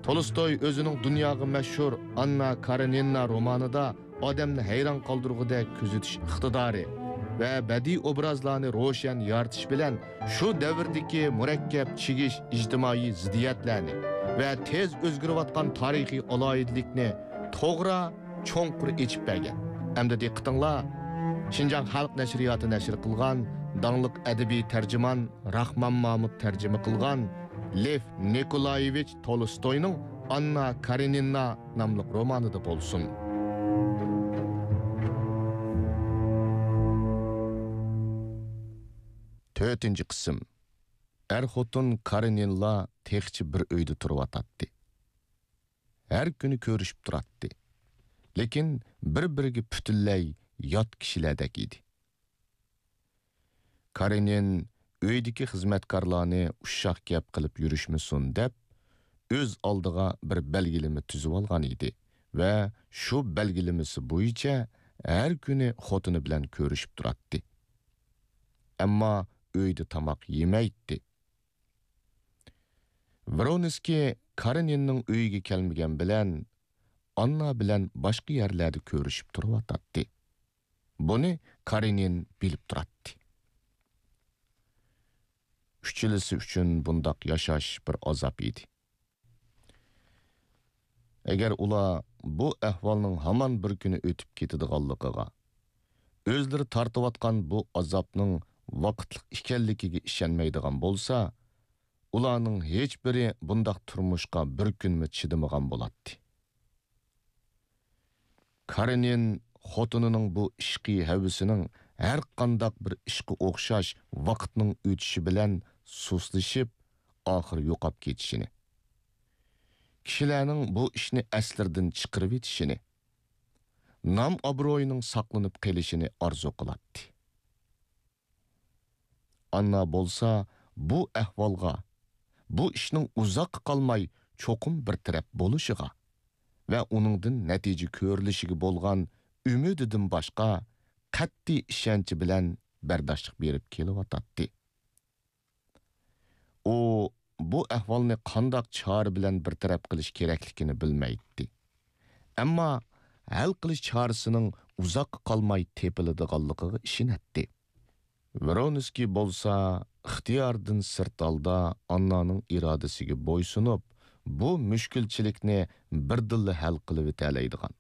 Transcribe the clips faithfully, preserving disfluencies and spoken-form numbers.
تولستوي ئۆزىنىڭ دۇنياغا مەشھۇر ئاننا كارېنىنا رومانىدا ئادەمنى ھەيران قالدۇرغۇدەك كۆزىتىش ئىقتىدارى ۋە بەدىئىي ئوبرازلارنى روشەن يارىتىش بىلەن شۇ دەۋردىكى مۇرەككەپ چىگىش ئىجتىمائىي زىددىيەتلەرنى ۋە تېز ئۆزگىرىۋاتقان تارىخىي ئالاھىدىلىكنى توغرا، چوڭقۇر ئېچىپ بەرگەن. ئەمدى دىققىتىڭلار شىنجاڭ خەلق نەشرىياتى نەشر قىلغان داڭلىق ئەدەبىي تەرجىمان راخمان مامۇت تەرجىمە قىلغان لېف نىكولايېۋىچ تولستوينىڭ ئاننا كارېنىنا ناملىق رومانىدا بولسۇن. تۆتىنچى قىسىم. ئەر-خوتۇن كارېنىنلار تېخىچە بىر ئۆيدە تۇرۇۋاتاتتى. ھەر كۈنى كۆرۈشۈپ تۇراتتى. لېكىن بىر-بىرىگە پۈتۈنلەي يات كىشىلەردەك ئىدى. كارېنىن ئۆيدىكى خىزمەتكارلارنى ئۇششاق گەپ قىلىپ يۈرۈشمىسۇن دەپ، ئۆز ئالدىغا بىر بەلگىلىمە تۈزۈۋالغان ئىدى ۋە شۇ بەلگىلىمىسى بويىچە ھەر كۈنى خوتۇنى بىلەن كۆرۈشۈپ تۇراتتى. ئەمما ئۆيدە تاماق يېمەيتتى. ۋرونسكىي كارېنىننىڭ ئۆيىگە كەلمىگەن بىلەن، ئاننا بىلەن باشقا يەرلەردە كۆرۈشۈپ تۇرۇۋاتاتتى. بۇنى كارېنىن بىلىپ تۇراتتى. ئۈچىلىسى ئۈچۈن بۇنداق ياشاش بىر ئازاب ئىدى. ئەگەر ئۇلار بۇ ئەھۋالنىڭ ھامان بىر كۈنى ئۆتۈپ كېتىدىغانلىقىغا، ئۆزلىرى تارتىۋاتقان بۇ ئازابنىڭ ۋاقىتلىق ئىكەنلىكىگە ئىشەنمەيدىغان بولسا، ئۇلارنىڭ ھېچبىرى بۇنداق تۇرمۇشقا بىر كۈنمۇ چىدىمىغان بولاتتى. كارېنىن خوتۇنىنىڭ بۇ ئىشقىي ھەۋىسىنىڭ ھەر قانداق بىر ئىشقا ئوخشاش ۋاقىتنىڭ ئۆتۈشى بىلەن سۇسلىشىپ، ئاخىر يوقاپ كېتىشىنى، كىشىلەرنىڭ بۇ ئىشنى ئەسلىرىدىن چىقىرىۋېتىشىنى، نام-ئابرۇيىنىڭ ساقلىنىپ قېلىشىنى ئارزۇ قىلاتتى. ئاننا بولسا بۇ ئەھۋالغا، بۇ ئىشنىڭ ئۇزاققا قالماي چوقۇم بىر تەرەپ بولۇشىغا ۋە ئۇنىڭدىن نەتىجە كۆرۈلۈشىگە بولغان ئۈمىدىدىن باشقا قەتئىي ئىشەنچى بىلەن بەرداشلىق بېرىپ كېلىۋاتاتتى. ئۇ بۇ ئەھۋالنى قانداق چارە بىلەن بىر تەرەپ قىلىش كېرەكلىكىنى بىلمەيتتى. ئەمما ھەل قىلىش چارىسىنىڭ ئۇزاققا قالماي تېپىلىدىغانلىقىغا ئىشىنەتتى. ۋرونسكىي بولسا ئىختىيارىدىن سىرت ھالدا ئاننانىڭ ئىرادىسىگە بويسۇنۇپ، بۇ مۈشكۈلچىلىكنى بىردىنلا ھەل قىلىۋېتەلەيدىغان،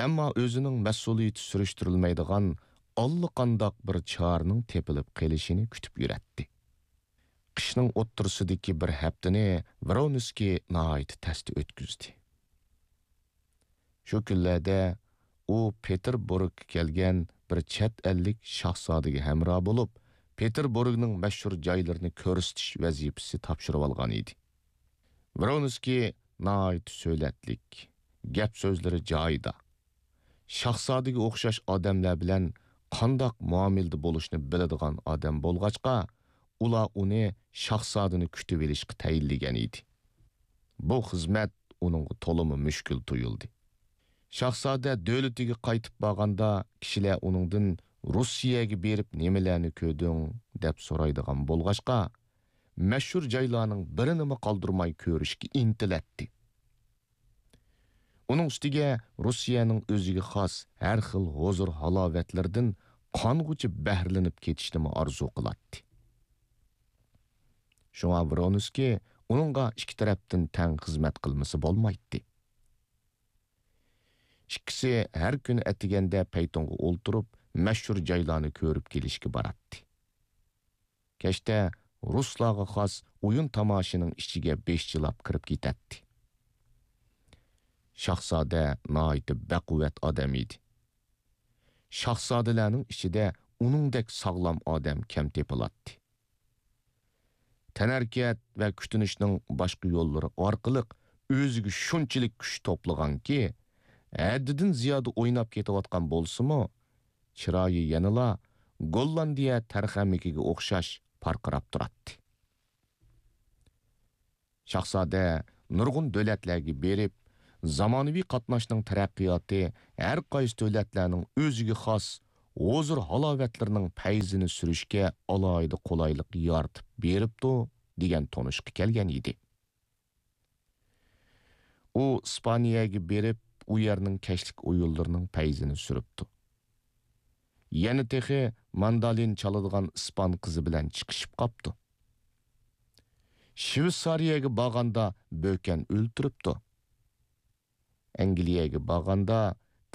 ئەمما ئۆزىنىڭ مەسئۇلىيىتى سۈرۈشتۈرۈلمەيدىغان ئاللىقانداق بىر چارىنىڭ تېپىلىپ قېلىشىنى كۈتۈپ يۈرەتتى. قىشنىڭ ئوتتۇرىسىدىكى بىر ھەپتىنى ۋرونسكىي ناھايىتى تەستە ئۆتكۈزدى. شۇ كۈنلەردە ئۇ پېتېربۇرگقا كەلگەن بىر چەت ئەللىك شاھزادىگە ھەمراھ بولۇپ، پېتېربۇرگنىڭ مەشھۇر جايلىرىنى كۆرسىتىش ۋەزىپىسى تاپشۇرۇۋالغان ئىدى. ۋرونسكىي ناھايىتى سۆلەتلىك، گەپ-سۆزلىرى جايىدا، شاھزادىگە ئوخشاش ئادەملەر بىلەن قانداق مۇئامىلىدە بولۇشنى بىلىدىغان ئادەم بولغاچقا، ئۇلار ئۇنى شاھزادىنى كۈتۈۋېلىشقا تەيىنلىگەن ئىدى. بۇ خىزمەت ئۇنىڭغا تولىمۇ مۈشكۈل تۇيۇلدى. شاھزادە دۆلىتىگە قايتىپ بارغاندا، كىشىلەر ئۇنىڭدىن «روسىيەگە بېرىپ نېمىلەرنى كۆردۈڭ؟» دەپ سورايدىغان بولغاچقا، مەشھۇر جايلارنىڭ بىرىنىمۇ قالدۇرماي كۆرۈشكە ئىنتىلەتتى. ئۇنىڭ ئۈستىگە روسىيەنىڭ ئۆزىگە خاس ھەر خىل ھۇزۇر-ھالاۋەتلىرىدىن قانغۇچە بەھرىلىنىپ كېتىشنىمۇ ئارزۇ قىلاتتى. شۇڭا ۋرونسكىي ئۇنىڭغا ئىككى تەرەپتىن تەڭ خىزمەت قىلمىسا بولمايتتى. ئىككىسى ھەر كۈنى ئەتىگەندە پەيتۇنغا ئولتۇرۇپ، مەشھۇر جايلارنى كۆرۈپ كېلىشكە باراتتى. كەچتە رۇسلارغا خاس ئويۇن تاماشىنىڭ ئىچىگە بېشىچىلاپ كىرىپ كېتەتتى. شاھزادە ناھايىتى بەقۇۋۋەت ئادەم ئىدى. شاھزادىلەرنىڭ ئىچىدە ئۇنىڭدەك ساغلام ئادەم كەم تېپىلاتتى. تەنھەرىكەت ۋە كۈتۈنۈشنىڭ باشقا يوللىرى ئارقىلىق ئۆزىگە شۇنچىلىك كۈچ توپلىغانكى، ھەددىدىن زىيادە ئويناپ كېتىۋاتقان بولسىمۇ، چىرايى يەنىلا گوللاندىيە تەرخەمىكىگە ئوخشاش پارقىراپ تۇراتتى. شاھزادە نۇرغۇن دۆلەتلەرگە بېرىپ، زامانىۋى قاتناشنىڭ تەرەققىياتى ھەر قايسى دۆلەتلەرنىڭ ئۆزىگە خاس ھۇزۇر-ھالاۋەتلىرىنىڭ پەيزىنى سۈرۈشكە ئالاھىدە قولايلىق يارىتىپ بېرىپتۇ، دېگەن تونۇشقا كەلگەن ئىدى. ئۇ ئىسپانىيەگە بېرىپ، ئۇ يەرنىڭ كەچلىك ئويۇنلىرىنىڭ پەيزىنى سۈرۈپتۇ. يەنە تېخى ماندالىن چالىدىغان ئىسپان قىزى بىلەن چىقىشىپ قاپتۇ. شۋېتسارىيەگە بارغاندا بۆكەن ئۆلتۈرۈپتۇ. ئەنگلىيەگە بارغاندا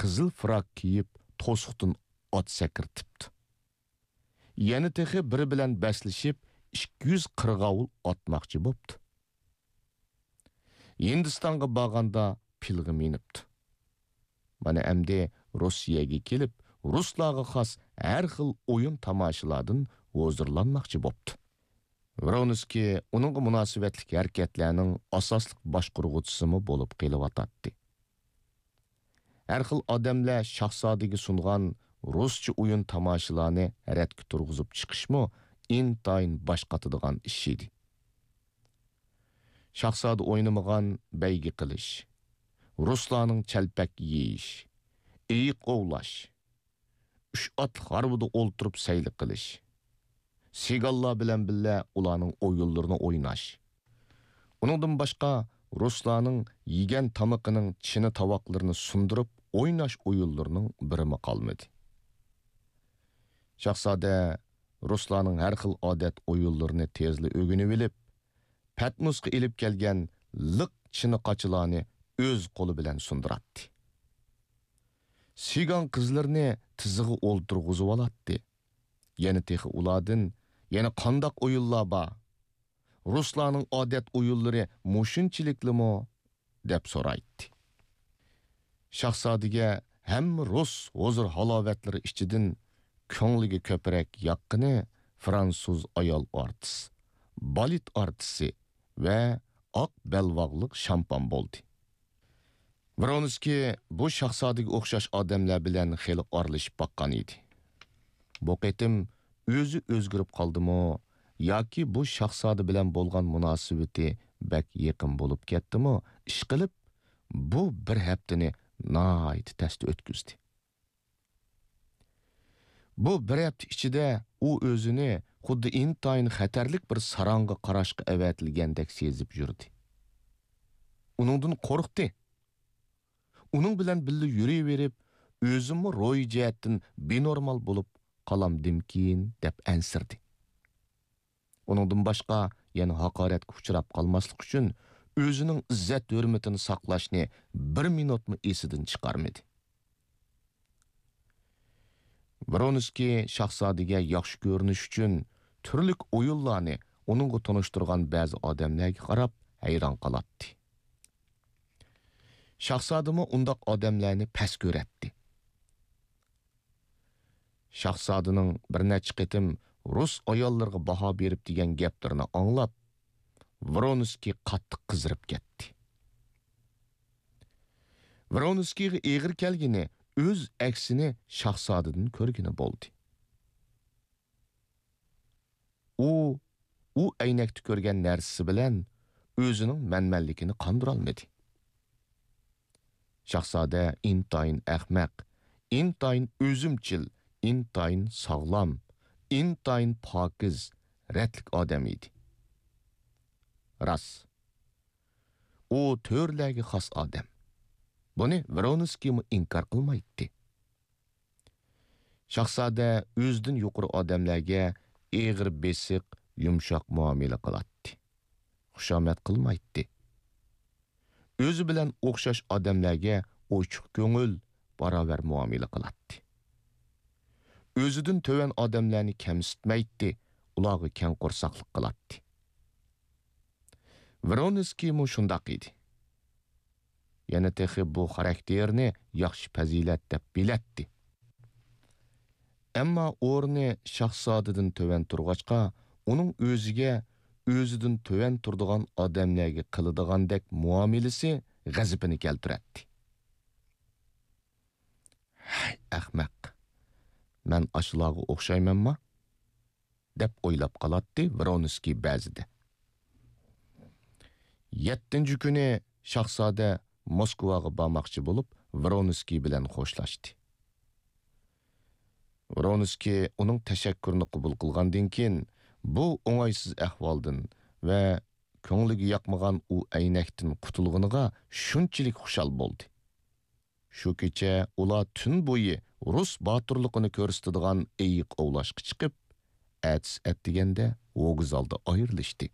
قىزىل فراك كىيىپ، توسۇقتىن ئات سەكرىتىپتۇ. يەنە تېخى بىرى بىلەن بەسلىشىپ، ئىككى يۈز قىرغاۋۇل ئاتماقچى بوپتۇ. ھىندىستانغا بارغاندا پىلغا مىنىپتۇ. مانا ئەمدى روسىيەگە كېلىپ، رۇسلارغا خاس ھەر خىل ئويۇن تاماشىلاردىن ھۇزۇرلانماقچى بوپتۇ. ۋرونسكىي ئۇنىڭغا مۇناسىۋەتلىك ھەرىكەتلەرنىڭ ئاساسلىق باشقۇرغۇچىسىمۇ بولۇپ قېلىۋاتاتتى. ھەر خىل ئادەملەر شاھزادىگە سۇنغان رۇسچە ئويۇن تاماشىلارنى رەتكە تۇرغۇزۇپ چىقىشمۇ ئىنتايىن باش قاتىدىغان ئىش ئىدى. شاھزادە ئوينىمىغان بەيگە قىلىش، رۇسلارنىڭ چەلپەك يېيىش، ئېيىق ئوۋلاش، ئۈچ ئاتلىق ھارۋىدا ئولتۇرۇپ سەيلە قىلىش، سىگانلار بىلەن بىللە ئۇلارنىڭ ئويۇنلىرىنى ئويناش. ئۇنىڭدىن باشقا، رۇسلارنىڭ يېگەن تامىقىنىڭ چىنە تاۋاقلىرىنى سۇندۇرۇپ ئويناش ئويۇنلىرىنىڭ بىرىمۇ قالمىدى. شاھزادە رۇسلارنىڭ ھەر خىل ئادەت ئويۇنلىرىنى تېزلا ئۆگىنىۋېلىپ، پەتنۇسقا ئېلىپ كەلگەن لىق چىنە قاچىلارنى ئۆز قولى بىلەن سۇندۇراتتى. سىگان قىزلىرىنى تىزىغا ئولتۇرغۇزۇۋالاتتى. يەنە تېخى ئۇلاردىن، «يەنە قانداق ئويۇنلار بار؟ رۇسلارنىڭ ئادەت ئويۇنلىرى مۇشۇنچىلىكلىمۇ؟» دەپ سورايتتى. شاھزادىگە ھەممە رۇس ھۇزۇر-ھالاۋەتلىرى ئىچىدىن كۆڭلىگە كۆپرەك ياققىنى فرانسۇز ئايال ئارتىس، بالېت ئارتىسى ۋە ئاق بەلباغلىق شامپان بولدى. ۋرونسكىي بۇ شاھزادىگە ئوخشاش ئادەملەر بىلەن خېلى ئارىلىشىپ باققان ئىدى. بۇ قېتىم ئۆزى ئۆزگىرىپ قالدىمۇ ياكى بۇ شاھزادە بىلەن بولغان مۇناسىۋىتى بەك يېقىن بولۇپ كەتتىمۇ، ئىشقىلىپ، بۇ بىر ھەپتىنى ناھايىتى تەستە ئۆتكۈزدى. بۇ بىر ھەپتە ئىچىدە ئۇ ئۆزىنى خۇددى ئىنتايىن خەتەرلىك بىر ساراڭغا قاراشقا ئەۋەتىلگەندەك سېزىپ يۈردى. ئۇنىڭدىن قورقتى. ئۇنىڭ بىلەن بىللە يۈرۈۋېرىپ، ئۆزىمۇ روھىي جەھەتتىن بىنورمال بولۇپ قالامدىمكىن دەپ ئەنسىرىدى. ئۇنىڭدىن باشقا يەنە ھاقارەتكە ئۇچراپ قالماسلىق ئۈچۈن ئۆزىنىڭ ئىززەت-ھۆرمىتىنى ساقلاشنى بىر مىنۇتمۇ ئېسىدىن چىقارمىدى. ۋرونسكىي شاھزادىگە ياخشى كۆرۈنۈش ئۈچۈن تۈرلۈك ئويۇنلارنى ئۇنىڭغا تونۇشتۇرغان بەزى ئادەملەرگە قاراپ ھەيران قالاتتى. شاھزادىمۇ ئۇنداق ئادەملەرنى پەس كۆرەتتى. شاھزادىنىڭ بىر نەچچە قېتىم رۇس ئاياللىرىغا باھا بېرىپ دېگەن گەپلىرىنى ئاڭلاپ، ۋرونسكىي قاتتىق قىزىرىپ كەتتى. ۋرونسكىيغا ئېغىر كەلگىنى ئۆز ئەكسىنى شاھزادىدىن كۆرگىنى بولدى. ئۇ، ئۇ ئەينەكتە كۆرگەن نەرسىسى بىلەن ئۆزىنىڭ مەنمەنلىكىنى قاندۇرالمىدى. شاھزادە ئىنتايىن ئەخمەق، ئىنتايىن ئۆزۈمچىل، ئىنتايىن ساغلام، ئىنتايىن پاكىز، رەتلىك ئادەم ئىدى. راست، ئۇ تۆرىلەرگە خاس ئادەم. بۇنى ۋرونسكىيمۇ ئىنكار قىلمايتتى. شاھزادە ئۆزىدىن يۇقىرى ئادەملەرگە ئېغىر بېسىق، يۇمشاق مۇئامىلە قىلاتتى. خۇشامەت قىلمايتتى. ئۆزى بىلەن ئوخشاش ئادەملەرگە ئوچۇق كۆڭۈل، باراۋەر مۇئامىلە قىلاتتى. ئۆزىدىن تۆۋەن ئادەملەرنى كەمسىتمەيتتى، ئۇلارغا كەڭ قورساقلىق قىلاتتى. ۋرونسكىيمۇ شۇنداق ئىدى. يەنە تېخى بۇ خاراكتېرنى ياخشى پەزىلەت دەپ بىلەتتى. ئەمما ئورنى شاھزادىدىن تۆۋەن تۇرغاچقا، ئۇنىڭ ئۆزىگە ئۆزىدىن تۆۋەن تۇرىدىغان ئادەملەرگە قىلىدىغاندەك مۇئامىلىسى غەزىپىنى كەلتۈرەتتى. ھەي، ئەخمەق! مەن ئاشۇلارغا ئوخشايمەنما؟ دەپ ئويلاپ قالاتتى ۋرونسكىي بەزىدە. يەتتىنچى كۈنى شاھزادە موسكۋاغا بارماقچى بولۇپ، ۋرونسكىي بىلەن خوشلاشتى. ۋرونسكىي ئۇنىڭ تەشەككۈرىنى قوبۇل قىلغاندىن كېيىن، بۇ ئوڭايسىز ئەھۋالدىن ۋە كۆڭلىگە ياقمىغان ئۇ ئەينەكتىن قۇتۇلغىنىغا شۇنچىلىك خۇشال بولدى. شۇ كېچە ئۇلار تۈن بويى رۇس باتۇرلۇقىنى كۆرسىتىدىغان ئېيىق ئوۋلاشقا چىقىپ، ئەتىسى ئەتىگەندە ۋوگزالدا ئايرىلىشتى.